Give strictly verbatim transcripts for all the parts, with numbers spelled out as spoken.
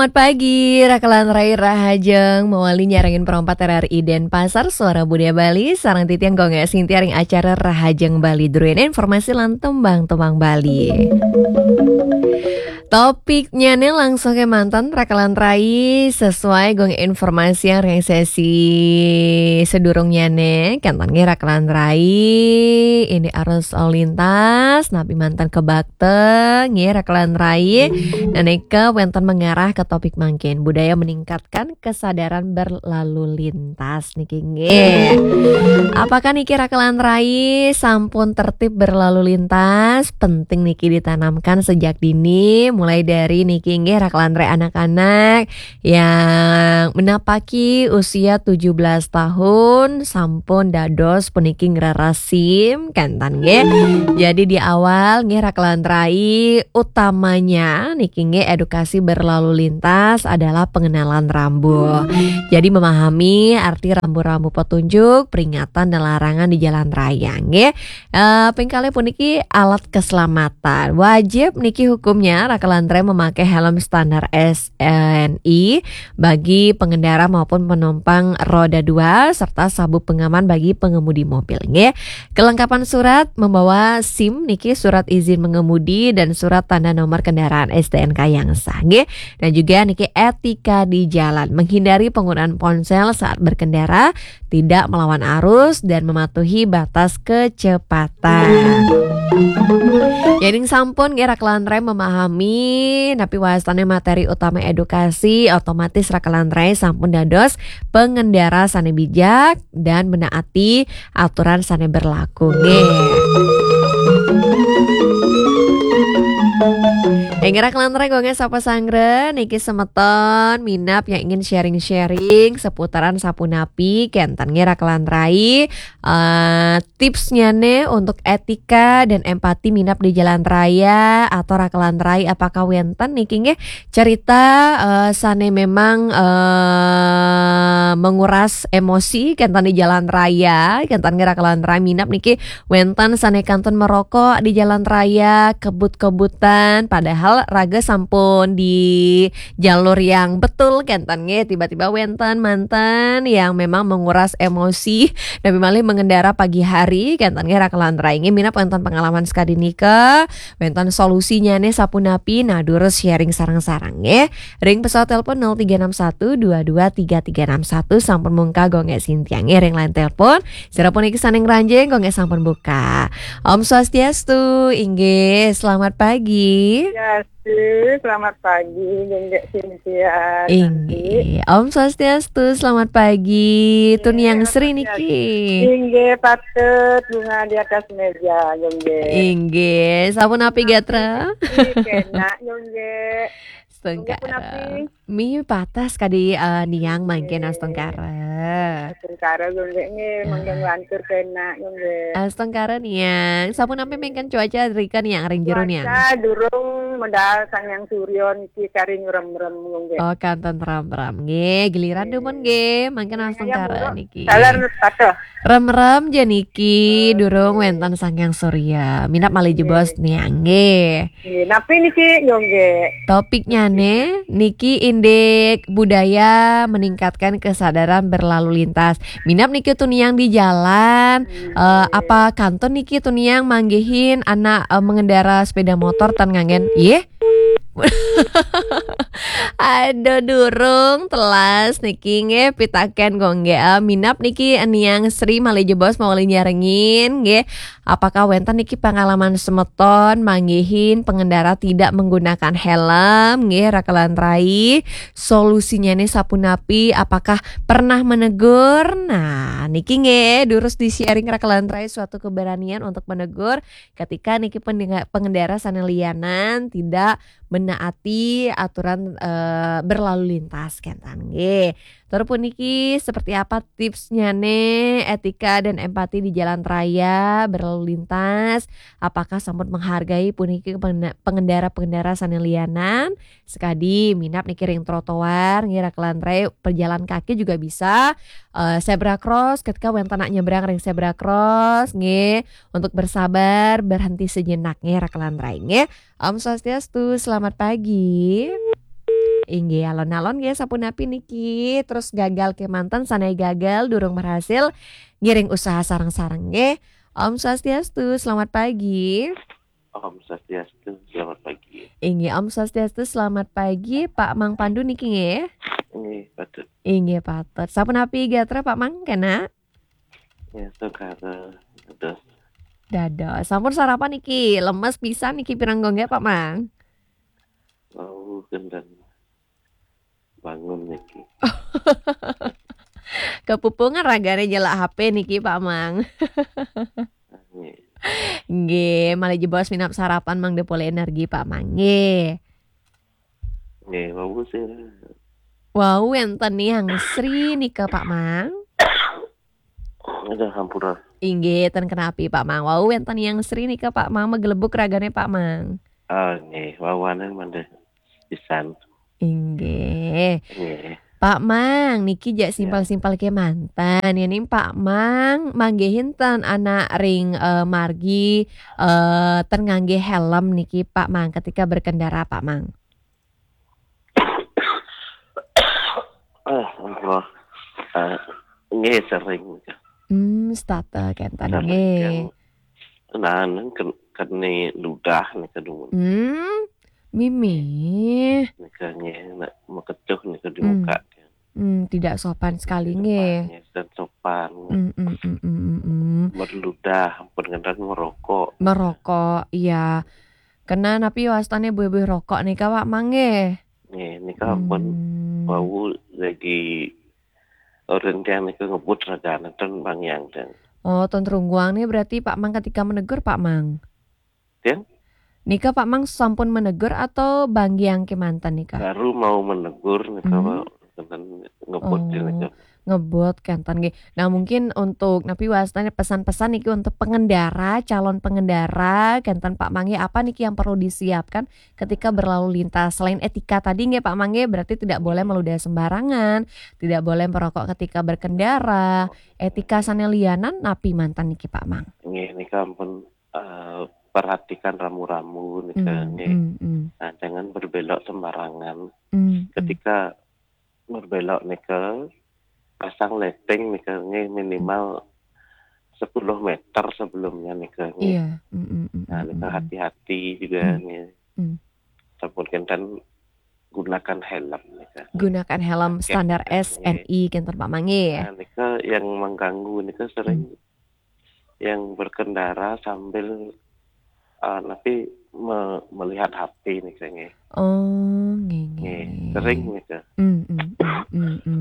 Selamat pagi, Raka lan Rai, Rahajeng mawali nyarengin Pro empat R R I Denpasar, Suara Budaya Bali, sareng titiang Gung Sintia ring acara Rahajeng Bali. Druéné informasi lan tembang-tembang Bali. Topiknyané langsung kémanten, Raka lan Rai, sesuai Gung informasi yang ring sesi sedurungnyané, kénten nggih Raka lan Rai, ini arus lalu lintas, napi manten kebakta, nggih Raka lan Rai, nanika wénten mengarah ke topik mangkin, budaya meningkatkan kesadaran berlalu lintas niki nggih. Apakah niki Raka lan Rai sampun tertib berlalu lintas? Penting niki ditanamkan sejak dini, mulai dari niki nggih Raka lan Rai anak-anak yang menapaki usia tujuh belas tahun sampun dados puniki ngrereh SIM, kénten nggih. Jadi di awal nggih Raka lan Rai utamanya niki nggih edukasi berlalu lintas adalah pengenalan rambu. Jadi memahami arti rambu-rambu petunjuk, peringatan dan larangan di jalan raya nggih. Eh, ping kalih puniki alat keselamatan. Wajib niki hukumnya Raka lan Rai memakai helm standar S N I bagi pengendara maupun penumpang roda dua serta sabuk pengaman bagi pengemudi mobil nggih. Kelengkapan surat membawa SIM niki, surat izin mengemudi dan surat tanda nomor kendaraan S T N K yang sah nggih. Dan juga niki etika di jalan, menghindari penggunaan ponsel saat berkendara, tidak melawan arus dan mematuhi batas kecepatan. Yéning sampun nggih Raka lan Rai memahami napi wastané materi utama edukasi, otomatis Raka lan Rai sampun dados pengendara sané bijak dan menaati aturan sané berlaku nggih. Inggih Raka lan Rai, Gung Sapa Sanggra niki semeton minab yang ingin sharing-sharing seputaran sapunapi, kénten nggih Raka lan Rai, eh, tipsnyané untuk etika dan empati minab di jalan raya atau Raka lan Rai, apakah wénten niki nggih cerita, eh, sané memang, eh, menguras emosi kénten di jalan raya, kénten nggih Raka lan Rai minab niki wénten sané kantun merokok di jalan raya, kebut-kebutan, padahal raga sampun di jalur yang betul kénten nggih, tiba-tiba wénten manten yang memang menguras emosi, napi malih mengendara pagi hari kénten nggih Raka lan Rai nggih, minab wénten pengalaman sakadi nika, wénten solusinyané sapunapi, nah durus sharing sareng-sareng nggih. Ring pesawat telepon nol tiga enam satu dua dua tiga tiga enam satu sampun mungkah Gung Sintia nggih, ring line telepon. Sira puniki sané ngranjing, Gung sampun buka. Om Swastiastu, inggih, selamat pagi. Swastiastu, selamat pagi, Gung Sintia. Inggih, Om Swastiastu, selamat pagi. Tuniang Sri niki. Inggih, patut bunga di atas meja, Gung. Inggih, sapunapi gatra? Inggih, enak, Gung. Astungkara. Mih patah kadi, eh, niang mangkin, astungkara. Astungkara, Gung, nggih, mangkin lantur kenak, Gung. Astungkara niang. Sapunapi mangkin cuaca rika niang, ring jero niang? Cuaca durung, medal Sang Hyang Surya niki kari ngrem-rem, Gung. Oh, kantun rem-rem. Nggih, giliran dumun nggih, mangkin astungkara niki. Salam patuh. Rem-rem ja niki, durung wénten Sang Hyang Surya. Minab malih jebos niang nggih. Nggih, napi niki, Gung? Topiknyané niki indik budaya meningkatkan kesadaran berlalu lintas. Minab niki tuniang di jalan, eh, apa kantun niki tuniang manggihin anak, eh, mengendara sepeda motor tan nganggén, yeh? Aduh, durung telas niki nggih, pitakén Gung nggih. Ah, minab niki niang Sri malih jebos mawali nyarengin nggih. Apakah wénten niki pengalaman semeton manggihin pengendara tidak menggunakan helm nggih, Raka lan Rai? Solusinyané sapunapi? Apakah pernah menegur? Nah, niki nggih durus di-sharing Raka lan Rai suatu keberanian untuk menegur ketika niki pendenga-, pengendara sané lianan tidak menaati aturan, eh, berlalu lintas, kénten nggih. Tur puniki seperti apa tipsnyané etika dan empati di jalan raya berlalu lintas? Apakah sampun menghargai puniki pengena-, pengendara-pengendara sané lianan? Sekadi minab niki ring trotoar, nggih, Raka lan Rai, pejalan kaki juga bisa, eh, zebra cross, ketika wénten anak nyebrang ring zebra cross, nggih, untuk bersabar, berhenti sejenak, nggih, Raka lan Rai, nggih. Om Swastiastu, selamat pagi. Inggih, alon-alon nggih sapunapi niki, terus gagal kemanten, sanai gagal, durung berhasil, ngiring usaha sareng-sareng nggih. Om Swastiastu, selamat pagi. Om Swastiastu, selamat pagi. Inggih, Om Swastiastu, selamat pagi, Pak Mang Pandu niki nggih. Inggih, patut. Inggih, patut. Sapunapi gatra Pak Mang kena? Ya, segara, dados. Dados. Sampun sarapan niki, lemes pisan niki pirang gongge Pak Mang. Wau, gendang bangun niki. Kepupungan ragane nyelak H P niki Pak Mang. Nggih. Nggih, malih jebos minab sarapan mangda polih energi Pak Mang. Nggih. Nggih, wau sih. Wau enten Niang Sri nika Pak Mang. Ada hampura. Inggih, ten kenapi Pak Mang. Wau enten Niang Sri nika Pak Mang, magelebuk ragane Pak Mang. Ah, nggih, wawanen mangda pisan. Inggih. Nggih. Pak Mang, niki jak simpel-simpel kemanten. Yening Pak Mang manggihin ten anak ring, eh, margi, eh, ten ngangge helm niki Pak Mang ketika berkendara Pak Mang. Ah, ampun. Ah, nggih sering. Hmm, setata kenten. Sering nggih. Yang, nah, nang ken-, kene ludah nika dumun. Hmm, mimih. Nika nggih, nak makecuh nika di muka. Hmm, tidak sopan sekali nggih. Tidak sopan, nggih, dan sopan. Hmm, hmm, hmm, hmm, hmm, hmm. Berludah, ampun ngendang merokok. Merokok, iya. Kena napi wastane buih-buih rokok nika, Pak Mang, nggih? Nggih, nika ampun. Hmm. Wau lagi orang tiang nika ngebut raga nenten Bang Yang ten. Oh, ten rungguang nih berarti Pak Mang ketika menegur, Pak Mang? Tiang? Nika Pak Mang sampun menegur atau Bang Yang kemanten nika? Baru mau menegur nika, hmm, Pak. Kenten ngebut. Oh, nika ngebut kenten nggih. Nah, mungkin untuk napi wastane pesan-pesan niki untuk pengendara, calon pengendara, kenten Pak Mang nggih, apa niki yang perlu disiapkan ketika berlalu lintas? Selain etika tadi nggih Pak Mang nggih, berarti tidak boleh meludah sembarangan, tidak boleh merokok ketika berkendara. Etika sane lianan napi manten niki Pak Mang? Nggih, nika ampun, eh, perhatikan rambu-rambu nika, hmm, nggih. Hmm, hmm. Nah, jangan berbelok sembarangan. Hmm, hmm. Ketika berbelok nika, pasang lighting nika nggih minimal sepuluh meter sebelumnya nika nggih. Iya. Mm, mm, mm, nah, mm, nika, mm, hati-hati juga, mm, nggih. Mm. Sampun kenten gunakan helm nika. Gunakan helm, pakai standar helm, S N I nggih. Kenten Pak Mang nggih. Nah, nika yang mengganggu nika sering, mm, yang berkendara sambil, eh, napi me-, melihat H P nika nggih. Oh, nggih, nggih, nggih, nggih, sering nika. Mm, mm, mm, mm, mm.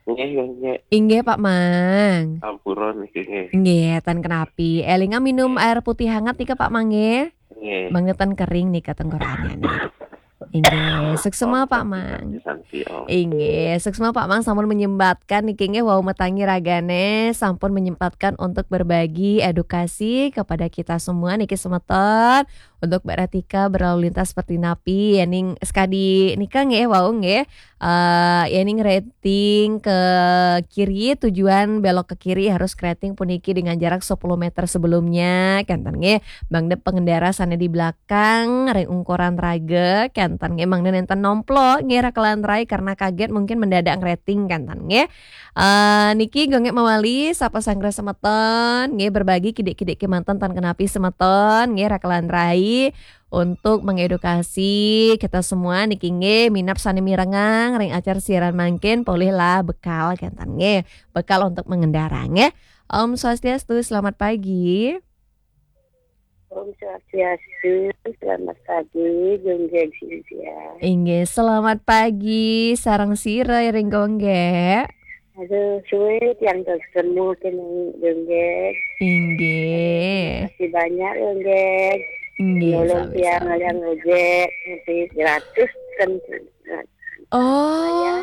Nggih, nggih, nggih. Inggih, Pak Mang. Ampura niki nggih. Nggih, ten kenapi. Elinga minum, nggih, air putih hangat nika, Pak Mang nggih. Nggih. Mangda ten kering nika tenggorokannya nih. Inggih, suksma, Pak Mang. Santi, Om. Inggih, suksma Pak Mang sampun menyempatkan niki nggih wau metangi ragane, sampun menyempatkan untuk berbagi edukasi kepada kita semua niki semeton untuk Mbak Ratika berlalu lintas seperti napi, yening sekadi nika nggih wau nggih. Eh, yening rating ke kiri, tujuan belok ke kiri harus kerating puniki dengan jarak sepuluh meter sebelumnya, kenten nggih. Mangda pengendara sane di belakang kang ring ungkuran raga, kenten nggih mangda nenten nomplo nggih rakelan rai karena kaget mungkin mendadak ngreting kenten nggih. Eh, niki gongek mawali sapa sanggra semeton nggih berbagi kidik-kidik kemanten tan kenapi semeton nggih rakelan rai untuk mengedukasi kita semua niki nggih minab sane mirengang ring acara siaran mangkin polihlah bekal kenten nggih. Bekal untuk mengendara nggih. Om Swastiastu, selamat pagi. Om Swastiastu, selamat pagi, Gunggeng Cynthia. Inggih, selamat pagi, sareng sira ring Gunggeng. Aduh, suwe tiang ketemu kene Gunggeng. Inggih. Terima kasih banyak, Gunggeng. Inggih, nolong sami-sami. Tiang ngalian ojek, nanti gratis kan. Oh, ya.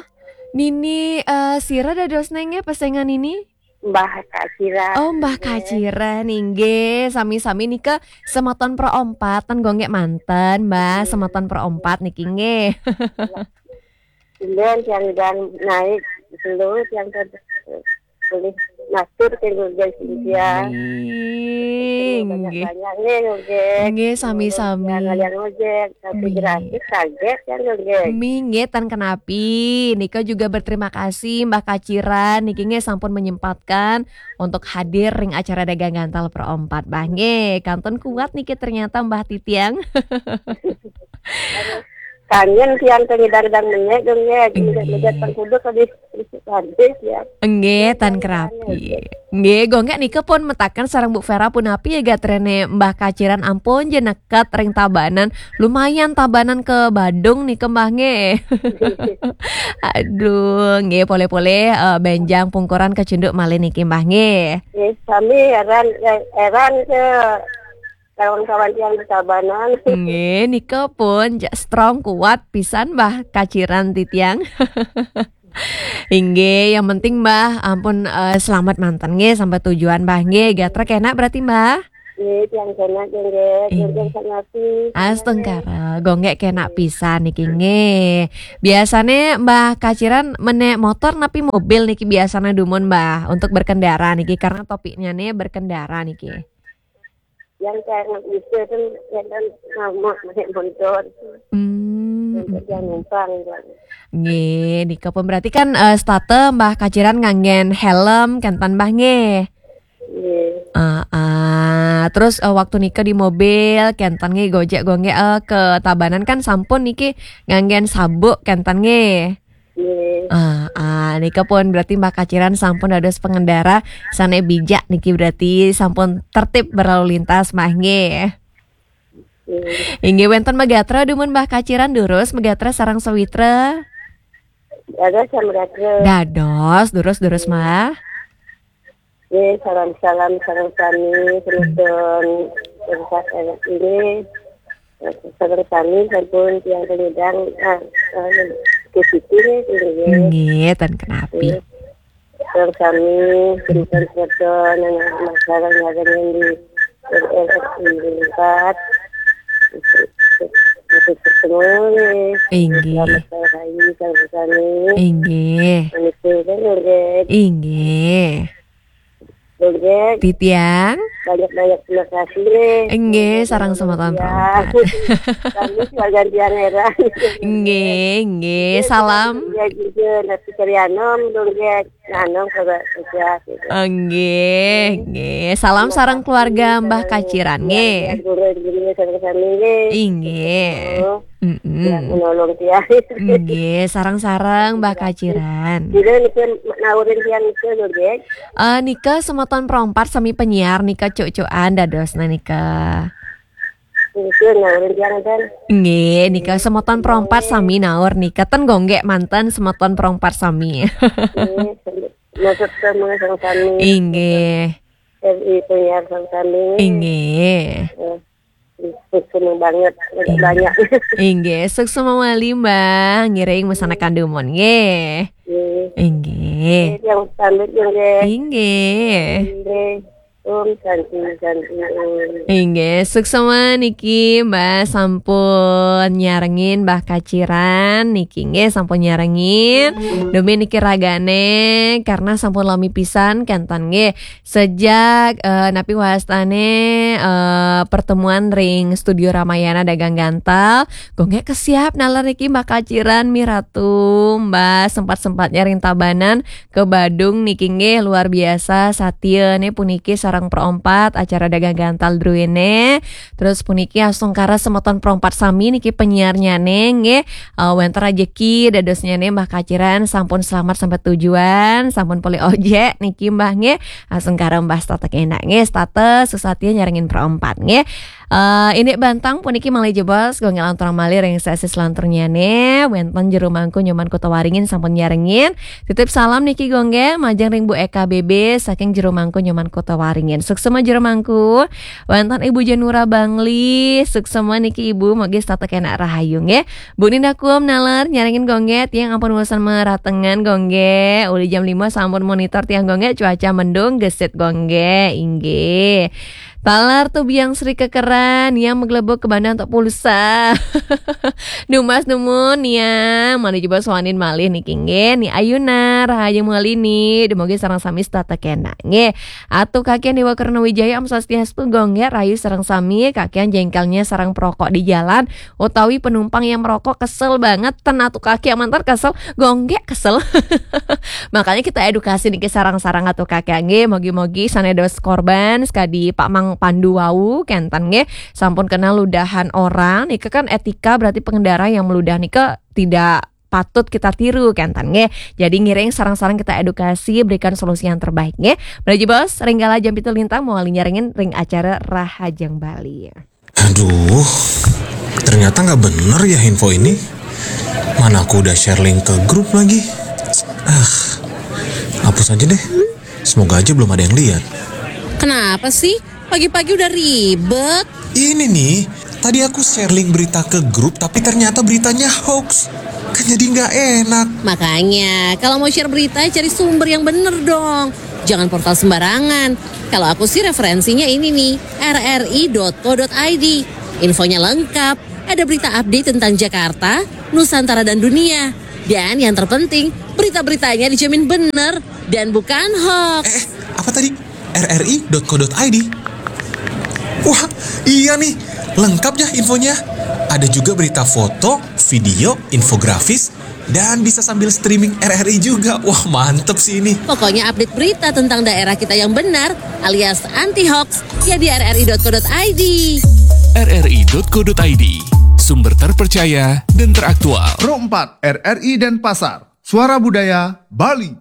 Nini, eh, sira dados nenge pesengan ini? Mbah Kak Cira. Oh, Mbah Kak Cira, inggih. Sami-sami nika semeton perompat, ten gonggek manten, Mbah, hmm, semeton perompat niki nggih. Tumben tiang udan naik, selo tiang kan boleh. Matur ke Gung Gek Cynthia. Nggih, nggih. Banyak-banyak nggih Gung Gek. Nggih, sami-sami. Ngalian ojek, tapi Nggih. gratis kaget kan Gung Gek. Nggih, tan kenapi. Nika juga berterima kasih Mbah Kaciran niki nggih sampun menyempatkan untuk hadir ring acara Dagang Gantal Pro empat, Mbah. Nggih, kantun kuat niki ternyata Mbah Titiang. Kangen tiang tengidang-dang menyek Gung Gek. Nggih. Menyek tengkuduk tadi. Habis ya. Nggih, tan kerapi. Nggih, Gung Gek nika pun metaken sareng Bu Vera punapi ya gatrene Mbah Kaciran ampun je neket ring Tabanan. Lumayan Tabanan ke Badung nika Mbah nggih. Aduh, nggih pole-pole eh, benjang pungkuran kecunduk malih niki Mbah nggih. Nggih, sami heran heran ke kawan-kawan tiang di Tabanan. Nggih, nika pun ja- strong kuat pisan Mbah Kaciran titiang. Inggih, yang penting Mbah ampun eh, selamat manten nggih sampai tujuan Mbah nggih. Gatra kena berarti Mbah? Nggih, tiang kena nggih. Inggih. Nggih, sangapi. Astungkara, Gung Gek kena pisan niki nggih. Biasane Mbah Kaciran menek motor napi mobil niki biasane dumun Mbah untuk berkendara niki karena topiknya nih berkendara niki. Yang saya nggak bisa kan kadang sama naik motor. Hmm. Yang numpang kan. Nggih, nika pun berarti kan eh, state Mbah Kaciran nganggen helm kenten Mbah nggih. Nggih. Ah, ah. Terus eh, waktu nika di mobil kenten nggih Gojek Gung Gek eh, ke Tabanan kan sampun niki nganggen sabuk kenten nggih. Nggih. Ah, ah, nika pun berarti Mbah Kaciran sampun dados pengendara sane bijak niki berarti sampun tertib berlalu lintas Mbah nggih. Nggih. Inggih wenten megatra dumun Mbah Kaciran durus megatra sareng sawitra. Ada sama gatra. Dados durus-durus Mbah. Nggih, salam-salam sareng sami penonton. Ini sareng sami sampun tiang penyedang ah, ah, ke situ nggih, nggih. Nggih, tan kenapi. Nggih. Sareng sami penonton semeton yang masalah ngadengin di R R S empat. Itu semua nggih. Inggih. Selamat hari raya sareng sami. Inggih. Menika kan nggih. Inggih. Nggih. Titiang. Banyak-banyak terima kasih nggih. Nggih, sareng semeton Titiang. Perompak. Kami sebagai tiang heran. Nggih, nggih, salam. Ya juga nanti cari anom dong ya. Anom kagak kerja gitu. Nggih, nggih. Salam sareng keluarga Mbah Kaciran nggih. Guru guru sareng sami nggih. Inggih. Oh. Mm-mm. Ya, menolong tiang. Nggih, sareng-sareng Mbah Kaciran. Jadi niki naurin tiang itu lho, nggih. Eh, nika semeton perompak sami penyiar nika cuk-cukan dadosna nika. Niki naurin tiang kan. Nggih, nika semeton perompak sami naur nika ten Gung Gek manten semeton perompak sami. Nggih, maksud ke mengesang sami. Inggih. R I penyiar sareng sami. Inggih. Eh. Seneng banget, banyak. Inggih, suksma malih Mbah, ngiring mesanakan dumun nggih. Nggih. Inggih. Yang pamit nggih. Inggih. Nggih. Om Santi, Santi, Om. Inggih, suksma niki Mbah sampun nyarengin Mbah Kaciran niki nggih sampun nyarengin. Demi niki ragane karena sampun lami pisan kenten nggih. Sejak eh, napi wastane eh, pertemuan ring Studio Ramayana Dagang Gantal, Gung Gek kesiap nalar niki Mbah Kaciran Miratu, Mbah sempat-sempatnya ring Tabanan ke Badung niki nggih luar biasa satyane puniki sareng perompak acara Dagang Gantal druene. Terus puniki astungkara semeton perompak sami niki penyiarnyane nggih eh, wenten rejeki dadosnyane Mbah Kaciran sampun selamat sampai tujuan, sampun polih ojek niki Mbah nggih. Astungkara Mbah status enak nggih, status susatya nyarengin perompak nggih. Eh, ini bantang puniki malih jebos, Gung Gek lanturang malih ring sesi selanturnyane, wenten Jero Mangku Nyoman Kota Waringin sampun nyarengin. Titip salam niki Gung Gek, majeng ring Bu Eka B B saking Jero Mangku Nyoman Kota Waringin. Suksma Jero Mangku. Wenten Ibu Janura Bangli, suksma niki Ibu, mugi setata kenak rahayu nggih. Bu Ninda Kuom nalar nyarengin Gung Gek, tiang ampun bosen meratengan Gung Gek. Uli jam lima sampun monitor tiang Gung Gek, cuaca mendung, gesit Gung Gek, inggih. Talar tuh biang Sri kekeran, yang menggelebok ke Bandung untuk pulsa. Dumas numun, yang mana coba suanin malih niki nggih. Ni Ayuna, Rahayu Mualini, demogi sareng sami setata kena nggih. Atuh kakian Dewa Karna Wijaya, Om Swastiastu, gonggek rayu sareng sami, kakian jengkelnya sareng perokok di jalan, utawi penumpang yang merokok kesel banget, ten atuh kaki amantar kesel, gonggek kesel. Makanya kita edukasi niki sarang-sarang atuh kaki nggih, mogi-mogi sanedos korban sekadi Pak Mang Pandu wau kenten nggih, sampun kenal ludahan orang, nika kan etika, berarti pengendara yang meludah nika tidak patut kita tiru kenten nggih. Jadi ngiring sarang-sarang kita edukasi, berikan solusi yang terbaik nggih. Menuju bos, ringgala jam pitu lintang mau nyarengin ring acara Rahajeng Bali. Aduh, ternyata nggak bener ya info ini. Mana aku udah share link ke grup lagi. Ah, hapus aja deh. Semoga aja belum ada yang lihat. Kenapa sih? Pagi-pagi udah ribet. Ini nih, tadi aku share link berita ke grup tapi ternyata beritanya hoax. Kan jadi nggak enak. Makanya, kalau mau share berita, cari sumber yang bener dong. Jangan portal sembarangan. Kalau aku sih referensinya ini nih, rri.co.id. Infonya lengkap, ada berita update tentang Jakarta, Nusantara dan dunia. Dan yang terpenting, berita-beritanya dijamin bener dan bukan hoax. Eh, apa tadi? rri.co.id. Wah, iya nih, lengkap ya infonya. Ada juga berita foto, video, infografis, dan bisa sambil streaming RRI juga. Wah, mantep sih ini. Pokoknya update berita tentang daerah kita yang benar alias anti hoax ya di rri.co.id. rri.co.id, sumber terpercaya dan teraktual. Pro empat RRI Denpasar, Suara Budaya Bali.